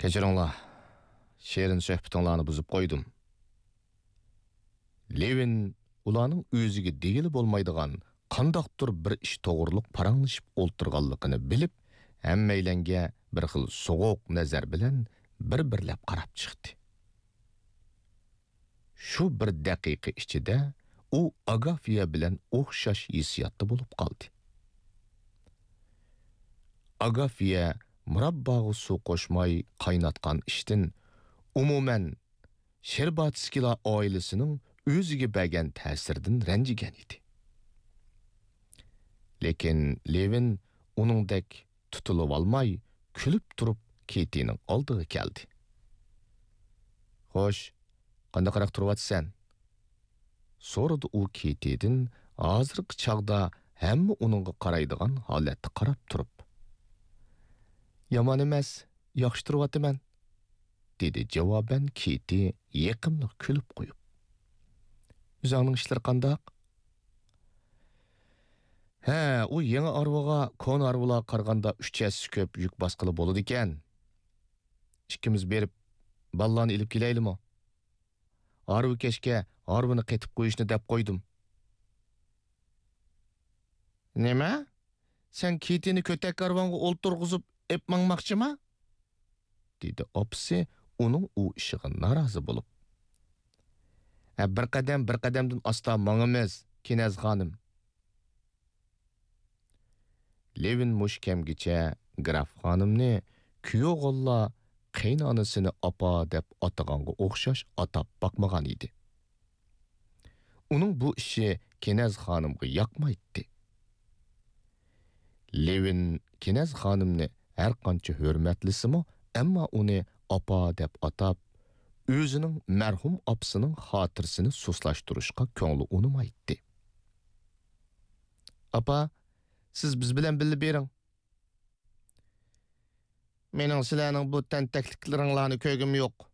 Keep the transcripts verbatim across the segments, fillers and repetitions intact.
كەچۈرۈڭلار، شېرىن سۆھبىتىڭلارنى بۇزۇپ قويدۇم. لېۋىن ئۇلارنىڭ ئۆزىگە دېگىلى بولمايدىغان قانداقتۇر بىر ئىش توغرۇلۇق پاراڭلىشىپ ئولتۇرغانلىقىنى بىلىپ، ھەممەيلەنگە بىر خىل سوغۇق نەزەر بىلەن بىر-بىرلەپ قاراپ چىقتى. شۇ بىر دەقىقە ئىچىدە ئۇ ئاگافىيە بىلەن ئوخشاش ھېسسىياتتا بولۇپ قالدى. ئاگافىيە مۇرابباغا سۇ قوشماي قايناتقان ئىشتىن، ئومۇمەن، شېرباتسكىلار ئائىلىسىنىڭ ئۆزىگە بەرگەن تەسىرىدىن رەنجىگەن ئىدى. لېكىن لېۋىن ئۇنىڭدەك تۇتۇلۇۋالماي، كۈلۈپ تۇرۇپ كېتىنىڭ ئالدىغا كەلدى. «خوش، قانداقراق تۇرۇۋاتىسەن؟» سورىدى ئۇ كېتىدىن، ھازىرقى چاغدا ھەممە ئۇنىڭغا قارايدىغان ھالەتتە قاراپ تۇرۇپ. «يامان ئەمەس، ياخشى تۇرۇۋاتىمەن.» دېدى جاۋابەن كېتى يېقىملىق كۈلۈپ قويۇپ. «ئۆزۈڭنىڭ ئىشلىرى قانداق؟» «ھە، ئۇ يېڭى ھارۋىغا كونا ھارۋىلارغا قارىغاندا ئۈچ ھەسسە كۆپ يۈك باسقىلى بولىدىكەن. ئىككىمىز بېرىپ، بالىلارنى ئېلىپ كېلەيلىمۇ؟ ھارۋا كەچكە ھارۋىنى قېتىپ قويۇشنى دەپ قويدۇم.» «نېمە؟ سەن كېتىنى كۆتەك ھارۋاڭغا ئولتۇرغۇزۇپ ئېپ ماڭماقچىما؟» دېدى ئاپىسى ئۇنىڭ ئۇ ئىشىغا نارازى بولۇپ. «ھە، بىر قەدەم، بىر قەدەمدىن ئاستا ماڭىمىز، كېنەز خانىم.» لېۋىن مۇشۇ كەمگىچە گراف خانىمنى كۈيئوغۇللار قېيىنئانىسىنى ئاپا دەپ ئاتىغانغا ئوخشاش ئاتاپ باقمىغان ئىدى. ئۇنىڭ بۇ ئىشى كېنەز خانىمغا ياقمايتتى. لېۋىن كېنەز خانىمنى ھەرقانچە ھۆرمەتلىسىمۇ، ئەمما ئۇنى ئاپا دەپ ئاتاپ، ئۆزىنىڭ مەرھۇم ئاپىسىنىڭ خاتىرىسىنى سۇسلاشتۇرۇشقا كۆڭلى ئۇنىمايتتى. «ئاپا، سىز بىز بىلەن بىللە بېرىڭ.» «مېنىڭ سىلەرنىڭ بۇ تەنتەكلىكلىرىڭلارنى كۆرگۈم يوق.»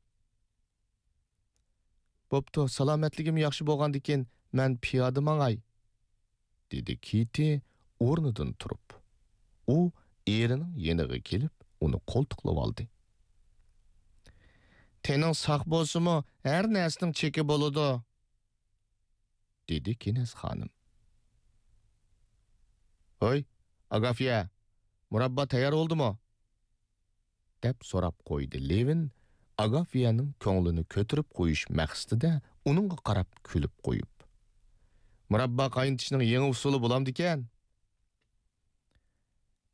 «بوپتۇ، سالامەتلىكىم ياخشى بولغاندىكىن مەن پىيادە ماڭاي.» دېدى كېتى ئورنىدىن تۇرۇپ. ئۇ ئېرىنىڭ يېنىغا كېلىپ، ئۇنى قولتۇقلىۋالدى. «تېنىڭ ساق بولسىمۇ، ھەر نەرسىنىڭ چېكى بولىدۇ.» دېدى كېنەز خانىم. «ھوي، ئاگافىيە، مۇراببا تەييار بولدىمۇ؟» دەپ سوراپ قويدى لېۋىن، ئاگافىيەنىڭ كۆڭلىنى كۆتۈرۈپ قويۇش مەقسىتىدە ئۇنىڭغا قاراپ كۈلۈپ قويۇپ. «مۇراببا قاينىتىشنىڭ يېڭى ئۇسۇلى بولامدىكەن؟»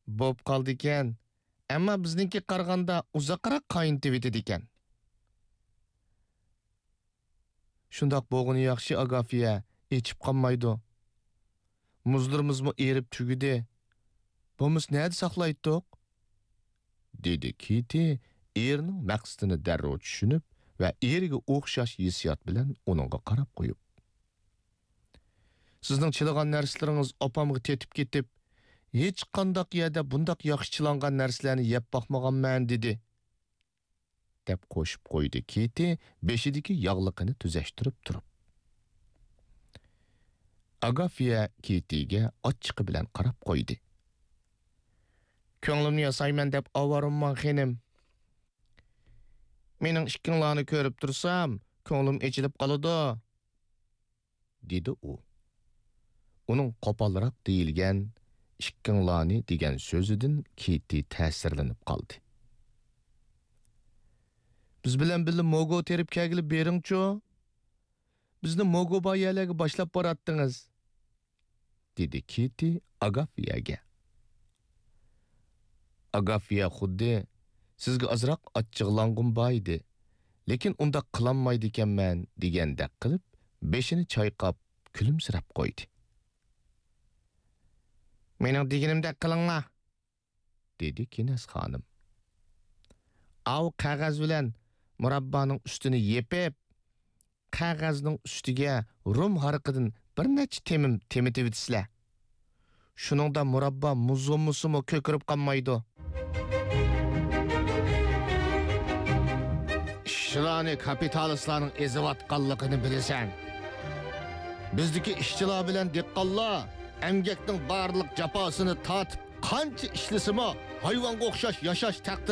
«بوپ قالدىكەن، ئەمما بىزنىڭكىگە قارىغاندا ئۇزاقراق قاينىتىۋېتىدىكەن.» «شۇنداق بولغىنى ياخشى، ئاگافىيە، ئېچىپ قالمايدۇ. مۇزلىرىمىزمۇ ئېرىپ تۈگىدى. بولمىسا نەدە ساقلايتتۇق؟» دېدى كېتى ئېرىنىڭ مەقسىتىنى دەررۇ چۈشىنىپ ۋە ئېرىگە ئوخشاش ھېسسىيات بىلەن ئۇنىڭغا قاراپ قويۇپ. «سىزنىڭ چىلىغان نەرسىلىرىڭىز ئاپامغا تېتىپ كېتىپ، ھېچقانداق يەردە بۇنداق ياخشى چىلانغان نەرسىلەرنى يەپ باقمىغانمەن» دېدى. دەپ قوشۇپ قويدى كېتى بېشىدىكى ياغلىقىنى تۈزەشتۈرۈپ تۇرۇپ. ئاگافىيە كېتىگە ئاچچىقى بىلەن قاراپ قويدى. «كۆڭلۈمنى ياسايمەن دەپ ئاۋارىممۇ خېنىم؟ مېنىڭ ئىككىڭلارنى كۆرۈپ تۇرسام، كۆڭلۈم ئېچىلىپ قالىدۇ.» دېدى ئۇ. ئۇنىڭ قوپالراق دېيىلگەن «ئىككىڭلارنى» دېگەن سۆزىدىن كېتى تەسىرلىنىپ قالدى. «بىز بىلەن بىللە موگو تېرىپ كەلگىلى بېرىڭچۇ؟ بىزنى موگو بار يەرلەرگە باشلاپ باراتتىڭىز.» دېدى كېتى ئاگافىيەگە. ئاگافىيە خۇددى «سىزگە ئازراق ئاچچىقلانغۇم بار ئىدى، لېكىن ئۇنداق قىلالمايدىكەنمەن» دېگەندەك قىلىپ، بېشىنى چايقاپ، كۈلۈمسىرەپ قويدى. «مېنىڭ دېگىنىمدەك قىلىڭلار.» دېدى كېنەز خانىم. «ئاۋۇ قەغەز بىلەن مۇراببانىڭ ئۈستىنى يېپىپ، قەغەزنىڭ ئۈستىگە رۇم ھارىقىدىن بىر نەچچە تېمىم تېمىتىۋېتىسىلەر. شۇنىڭدا مۇراببا مۇز بولمىسىمۇ كۆكىرىپ قالمايدۇ.» «ئىشچىلارنى كاپىتالىستلارنىڭ ئېزىۋاتقانلىقىنى بىلىسەن. بىزدىكى ئىشچىلار بىلەن دېھقانلار ئەمگەكنىڭ بارلىق جاپاسىنى تارتىپ، قانچە ئىشلىسىمۇ، ھايۋانغا ئوخشاش ياشاش تەقدىر